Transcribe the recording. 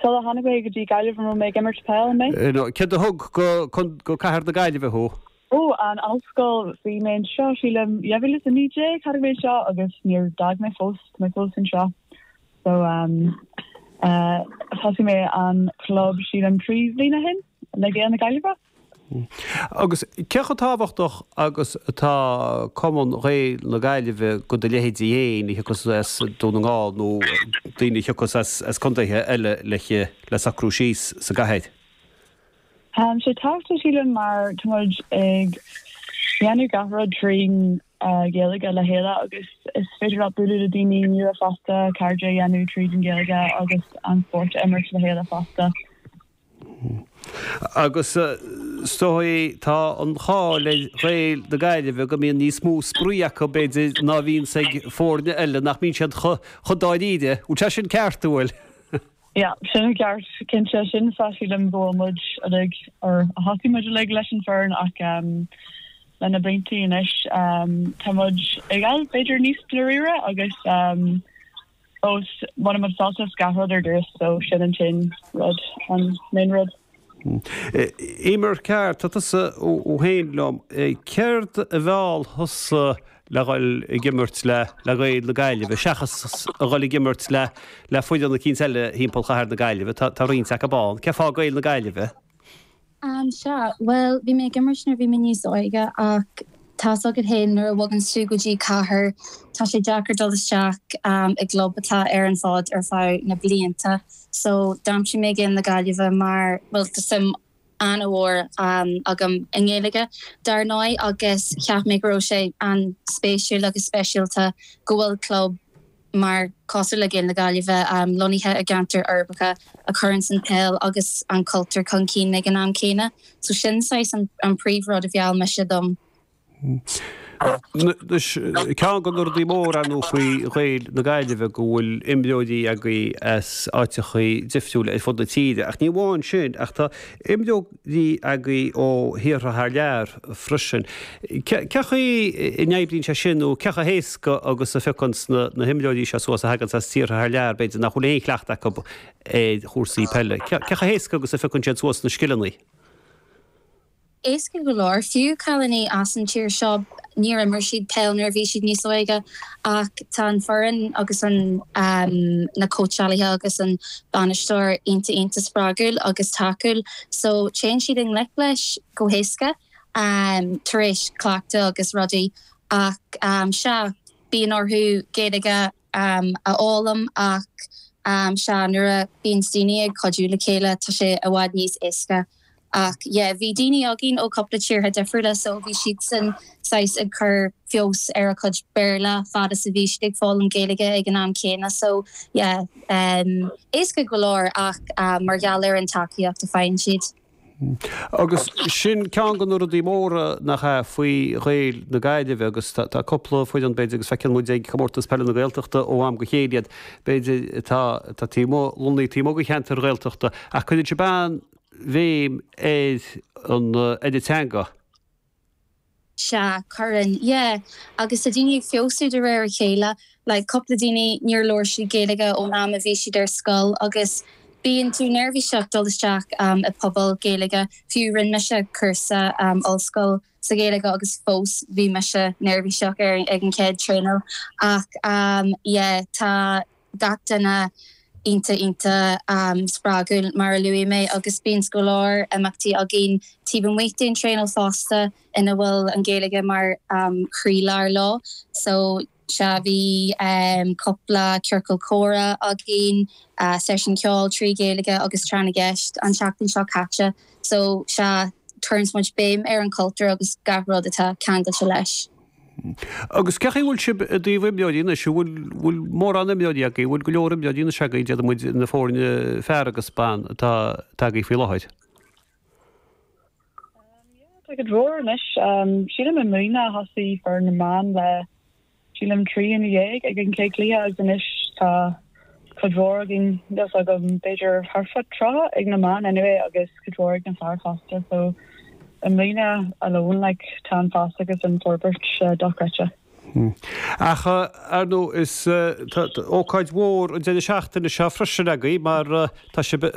Sula tháinig mé go dtí Gaillimh an raibh mé ag imirt peil, an mé? No, céard a thug go cathair na Gaillimhe thú? Ó, an ollscoil, bhí mé anseo sílim 2019 tháinig mé anseo agus níor d'fhág mé fós, tá mé fós anseo. So um, uh, thosaigh mé an club sílim 3 bhliain ó shin le Gaeil na Gaillimhe. Agus cé chomh tábhachtach agus atá Cumann Ghaeil na Gaillimhe go do leithéidí féin a thiocfas as Dún na nGall nó daoine a thiocfas as contaetha eile le socrú síos sa gcathair? Tá sé tábhachtach sílim mar tá muid ag déanamh gach rud trín Ghaeilge le chéile agus is féidir leat bualadh le daoine nua fosta, cairde a dhéanamh tríd an Ghaeilge agus an spórt a imirt le chéile fosta. Agus is dóigh tá an cháil ar Ghaeil na Gaillimhe go mbíonn níos mó spraoi acu, b'fhéidir, ná a bhíonns ag foirne eile, nach mbíonn siad chomh dáiríre. Bhfuil sé sin ceart, an bhfuil? Yeah, sin ceart, cinnte. Sin fáth sílim go bhfuil muid uilig, or a thosaigh muid uilig leis an foireann ach le na blianta anois tá muid ag dul b'fhéidir níos dáiríre agus Fós, baineann muid sult as gach rud ar dtús, so sin an t-aon rud, an main rud. Emer Carr, tá tusa ó shin liom. Céard a mheall thusa le dhul ag imirt le Gaeil na Gaillimhe, seachas a dhul ag imirt le le foireann eicínt eile thimpeall chathair na Gaillimhe? Tá roinnt acu ann. Cén fáth Gaeil na Gaillimhe? Sea, bhuel, bhí mé ag imirt nuair a bhí mé níos óige ach tá's agat féin nuair a bhoganns tú go dtí cathair tá sé deacair dul isteach i gclub atá ar an bhfód ar feadh na blianta. So d'aimsigh mé Gaeil na Gaillimhe mar, bhuel, tá suim an-mhór agam i nGaeilge dar ndóigh agus cheap mé go raibh sé an-spéisiúil agus speisialta go bhfuil club mar cosúil le Gaeil na Gaillimhe, lonnaithe i gceantair uirbeacha a chuireanns an peil agus an cultúr chun cinn ag an am céanna. So sin saghas an príomh rud a mheall mise dom. Anois, ceann de na rudaí móra ar ndóigh faoi Ghaeil na Gaillimhe go bhfuil imreoirí agaibh as áiteachaí difriúla ar fud na tíre ach ní amháin sin ach tá imreoirí agaibh ó thíortha thar lear freisin. Cé chaoi a n-oibríonn sé sin nó cé chomh héasca agus a phiocann na himreoirí seo suas a thaganns as tíortha thar lear, b'fhéidir, nach bhfuil aon chleachtadh acu ar chúrsaí peile? Cé chomh héasca agus a phiocann siad suas na scileanna? Éasca go leor. Fiú cailíní as an tír seo, níor imir siad peil nuair a bhí siad níos óige ach tá an foireann agus an na cóitseálaithe agus an bainisteoir iontach iontach spreagúil agus tacúil so téann siad i ngleic leis go héasca. tar éis cleachtadh agus rudaí ach sea, bíonn orthu Gaeilge a fhoghlaim ach sea, nuair a bíonns daoine ag cuidiú le chéile tá sé i bhfad níos éasca. Ach yeah, bhí daoine againn ó cúpla tíortha difriúla so bhí siadsan saghas ag cur feabhas ar a chuid Béarla fad is a bhí siad ag foghlaim Gaeilge ag an am céanna so yeah, éasca go leor ach mar gheall ar an tacaíocht a faigheann siad. Agus sin ceann de na rudaí móra, nach ea, faoi Ghaeil na Gaillimhe agus tá cúpla foireann, b'fhéidir, agus feiceann muid ag Comórtas Peile na Gaeltachta ó am go chéile iad, b'fhéidir, atá taobh amuigh, lonnaithe taobh amuigh de cheantar Ghaeltachta, ach cuireann sibh an-bhéim ar an, ar an teanga. Sea, cuireann, yeah. Agus tá daoine ag feabhsú de réir a chéile. Like, cúpla daoine, níor labhair siad Gaeilge ón am a bhí siad ar scoil agus bíonn tú neirbhíseach dul isteach i pobal Gaeilge. Fiú rinne mise cúrsa ollscoil sa Ghaeilge agus fós bhí mise neirbhíseach ar ag an chéad traenáil. Ach yeah, tá. gach duine iontach iontach spreagúil mar a luaigh mé agus bíonn go leor imeachtaí againn taobh amuigh den traenáil fosta ina bhfuil an Ghaeilge mar chroílár leo. So sea bhí cúpla ciorcal comhrá againn, seisiún ceoil trí Ghaeilge agus tráth na gceist an tseachtain seo caite. So sea cuireann muid béim ar an chultúr agus gach rud atá ceangailte leis. Agus cé chaoi a bhfuil sibh i dtaobh imreoirí anois? An bhfuil, bhfuil mórán imreoirí agaibh? An bhfuil go leor imreoirí anois agaibh, déarfaidh muid, na foirne fear agus ban atá, atá agaibh faoi láthair? Yeah, tá cuid mhór anois. Sílim i mbliana thosaigh foireann na mban le sílim 13 ag an chéad chluiche agus anois tá cuid mhór againn, níl a fhios agam, b'fhéidir thart fá 30 ag na mban anyway agus cuid mhór ag na fear fosta so i mbliana alone like tá an fás agus an forbairt dochreidte. Ach, ar ndóigh, is ócáid mhór an deireadh seachtaine seo freisin agaibh mar tá sibh.